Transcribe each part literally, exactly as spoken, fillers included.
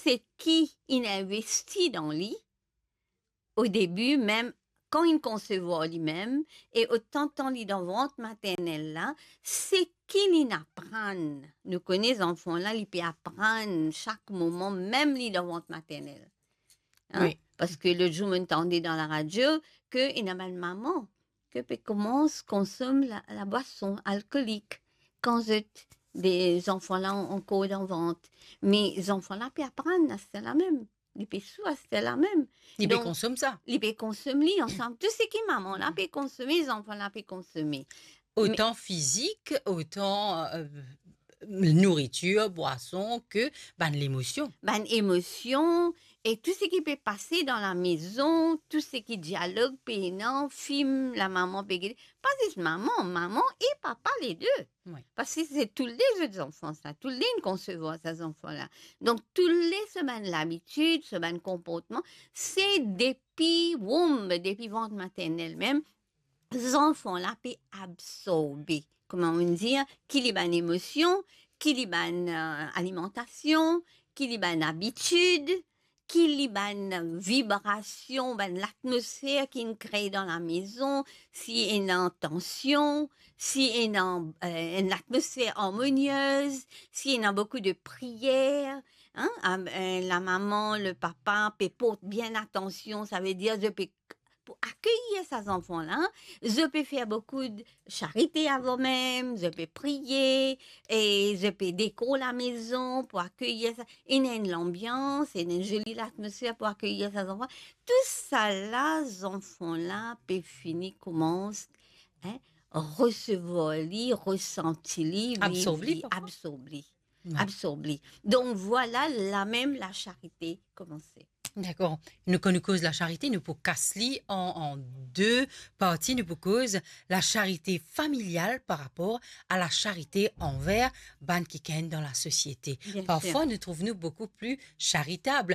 seki inn investi dan li, o debi mem, kan inn konsevwar limem, e otan tan li dan vant maternel la, seki linn aprann. Nou kone zanfan la, li pe aprann sak moman, mem li dan vant maternel. Hein? Wi. Parski lot zour, mo'nn tande dan laradio ke ena bann mama ke pe koumans konsom la, labwason alkolik kan zot, de zanfan la ankor dan vant. Me zanfan la pe aprann aster la mem. Li pe sou aster la mem. Li pe Donk, konsom sa. Li pe konsom li ansam. Tou seki mama la pe konsome, zanfan la pe konsome. Otan fizik, otan, euh, nouritir, bwason, ke bann lemosion. Bann emosion, e tou seki pe pase dan lamezon, tou seki dialog pena, fim lamama pe gete, pa zis mama, mama e papa lede. Wi. Parski se toule de zot zanfan sa, toule de inn konsevwar sa zanfan la. Donk, toule so bann labitid, so bann konportman, se depi womb, depi vant maternel mem, zanfan la pe absorbe, kouma nou dir, ki li bann emosion, ki li bann, euh, alimantasion, ki li bann abitid, ki li bann vibrasion, bann latmosfer ki'nn kree dan lamezon, si ena tansion, si ena, euh, enn latmosfer armoniez, si ena boukou de priyer, hein, am-, euh, lamama, lepapa pe port bien atansion, savedir zot pe pou akeyir sa zanfan la, zot pe fer boukou de charite avan mem, zot pe priye, e zot pe dekor lamezon pou akeyir sa, ena enn lanbians, ena enn zoli latmosfer pou akeyir sa zanfan. Tousala, zanfan la pe fini koumans, hein, resevwar li, resanti li, viv Absorb li, li, parfwa. Absorb li. Wi. Absorb li. Donk, vwala, lamem lasharite koumanse. Dakor. Nou, kan nou koz lasharite, nou pou kas li an, an de parti. Nou pou koz lasharite familial par rapor a lasharite anver bann kikenn dan lasosiete. Bien sir. Parfwa, nou trouv nou boukou pli charitab.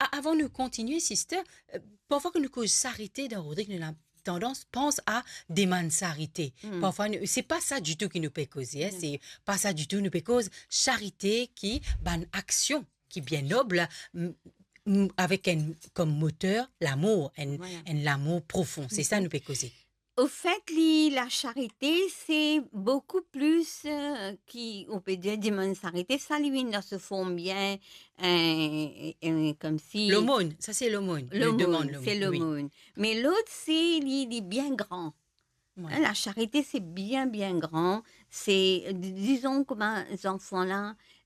A-, avan nou kontinie, sister, euh, parfwa kan nou koz charite dan Rodrig, nou ena tandans pans a demann sarite. Hmm. Parfwa, nou, se pa sa ditou ki nou pe koze, hein, Non. se pa sa ditou. Nou pe koz charite ki bann aksion ki bien nob, m-, m-, avek enn, kom moter, lamour, enn, Vwala. enn lamour profon. Se sa Mhm. nou pe koze. Ofet, li, lasharite, se boukou plis, euh, ki, ou pe dir, demann sarite, sa li vinn dan so form bien, euh, euh, komsi Lomone, sa se lomone. Nou Lomone, demann se lomone, wi. lomone. Me lot, se li, li bien gran. Wi. Hein, lasharite, se bien, bien gran. Se, di-, dizon kouma zanfan la,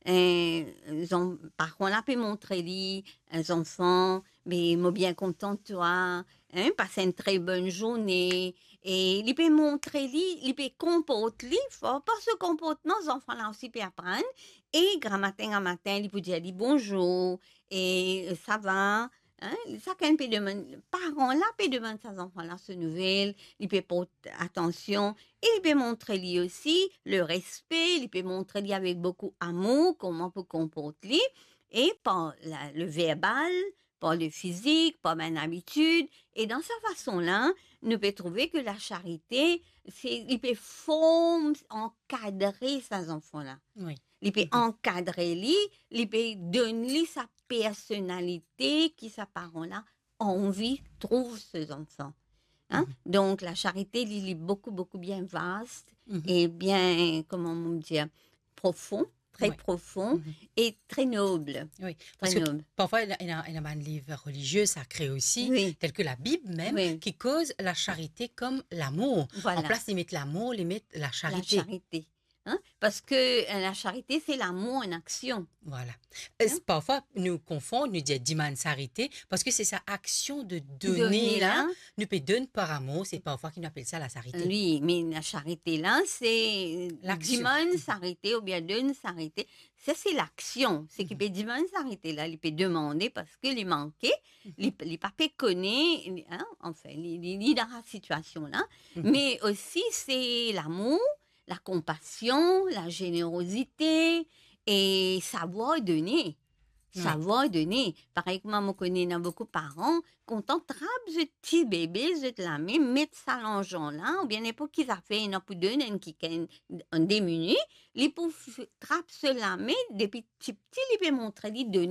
euh, zan-, paran la pe montre li, euh, zanfan, me mo bien kontan twa, hein, passe une très bonne journée. E li pe montre li, li pe konport li, for par so konportman, zanfan la osi pe aprann. E gramatin, gramatin, li pou dir li bonzour, e sa va, hein, sakenn pe demann, paran la pe demann sa zanfan la so nouvel, li pe port atansion, e li pe montre li osi le respe, li pe montre li avek boukou amour kouma pou konport li, e par la, le verbal, par le fizik, par bann abitid, e dan sa fason la, nou pe trouve ke lasharite, se, li pe form, ankadre sa zanfan la. Wi. Li pe Mhm. ankadre li, li pe donn li sa personalite ki sa paran la anvi trouv so zanfan. Hein? Mhm. Donk, lasharite, li, li boukou, boukou bien vast Mhm. e bien, kouma mo dir, profon, tre Wi. profon Mhm. e tre nob. Wi, Tre parski nob. parfwa, ena, ena, ena bann liv relizie, sakre osi, Wi. tel ke Labib mem, Wi. ki koz lasharite kom lamour. Vwala. Anplas li met lamour, li met lasharite. Lasharite. Hein? Parski, euh, lasharite, se lamour an aksion. Vwala. E Hein? parfwa, nou konfonn, nou dir demann sarite, parski se sa aksion de done Done la, la. nou pe donn par amour, se parfwa ki nou apel sa lasharite. Wi, me lasharite la, se Laksion. demann sarite oubien donn sarite. Sa, se laksion. Seki Mhm. pe demann sarite la, li pe demande parski li manke, Mhm. li, li pa pe kone, hein, anfin, li, li, li dan sa sitiasion la. Mhm. Me osi, se lamour, lakonpasion, lazenerozite e savwar done. Wi. Savwar done. Parey kouma mo kone ena boukou paran, kontan trap zot ti bebe, zot lame, met sa larzan la, oubien ninport ki zafer ena pou donn enn kikenn, an de minit, li pou f-, trap so lame, depi tipti li pe montre li done.